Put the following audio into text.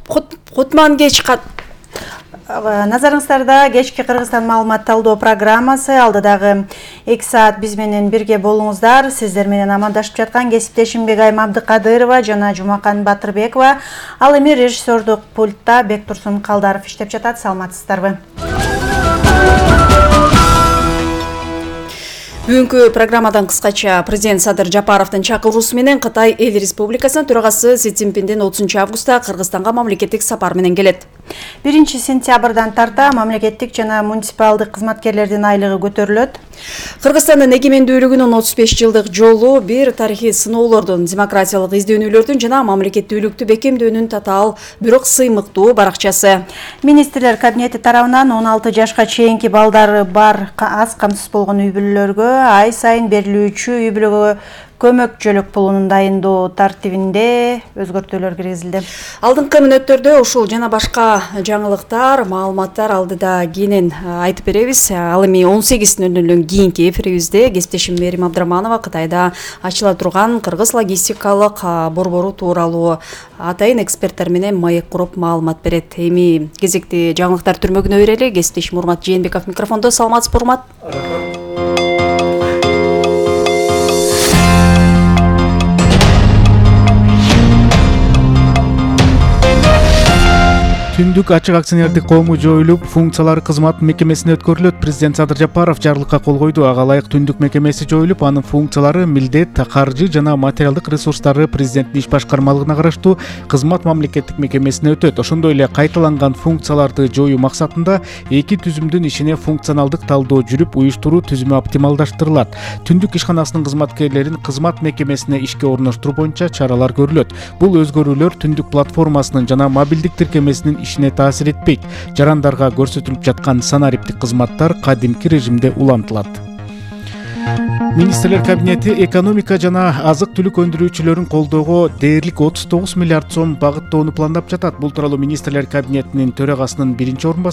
Кутман кеч Назарыңыздарда кечки Кыргызстан маалымат талдоо программасы. Алдыдагы 2 саат биз менен бирге болуңуздар. Сиздер менен амандашып жаткан кесиптешим Бегайым Абдыкадырова жана Жумакан Батырбекова. Ал эми режиссердук пультта Бектурсун Калдаров иштеп жатат. Саламатсыздарбы? Бүгүнкү программадан кыскача президент Садыр Жапаровдун чакыруусу менен Кытай Эл Республикасынын төрагасы Си Цзиньпиндин 30 августта Кыргызстанга мамлекеттик сапар менен келет. 1 сентябрдан тарта мамлекеттик жана муниципалдык кызматкерлердин айлыгы көтөрүлөт. Кыргызстандын эгемендүүлүгүнүн 35 жылдык жолу бир тарыхый сыноолордун, демократиялык издөөнүүлөрдүн жана мамлекеттүүлүктү бекемдөөнүн татаал, бирок сыймыктуу баракчасы. Министрлер кабинети тарабынан 16 жашка чейинки балдары бар аз камсыз болгон үй бүлөлөргө ай сайын берилүүчү үй бүлөгө көмөк-жөлөк пулунун дайындоо тартибинде өзгөртүүлөр киргизилди. Алдыңкы мүнөттөрдө ушул жана башка жаңылыктар, маалыматтар алдыда кийинен айтып беребиз. Ал эми 18:00 кийинки эфирибизде кесиптешим Мерим Абдраманова Кытайда ачыла турган кыргыз логистикалык борбору тууралуу атайын эксперттер менен маек куруп маалымат берет. Эми кезекти жаңылыктар түрмөгүнө берели. Кесиптешим Урмат Жээнбеков микрофондо. Саламатсызбы, Урмат? Түндүк ачык акционердик коому жоюлуп, функциялары кызмат мекемесине өткөрүлөт. Президент Садыр Жапаров жарлыкка кол койду. Ага ылайык түндүк мекемеси жоюлуп, анын функциялары, милдет, каржы жана материалдык ресурстары президенттин иш башкармалыгына караштуу кызмат мамлекеттик мекемесине өтөт. Ошондой эле кайталанган функцияларды жоюу максатында эки түзүмдүн ишине функционалдык талдоо жүрүп, уюштуруу түзүмү оптималдаштырылат. Түндүк ишканасынын кызматкерлерин кызмат мекемесине ишке орноштуруу боюнча чаралар көрүлөт. Бул өзгөрүүлөр түндүк платформасынын жана мобилдик тиркемесинин ишине таасир этпейт. Жарандарга көрсөтүлүп жаткан санариптик кызматтар кадимки режимде улантылат. Министрлер кабинети экономика жана азык-түлүк өндүрүүчүлөрүн колдоого дээрлик 39 миллиард сом багыттоону пландап жатат. Бул тууралуу Министрлер кабинетинин төрагасынын биринчи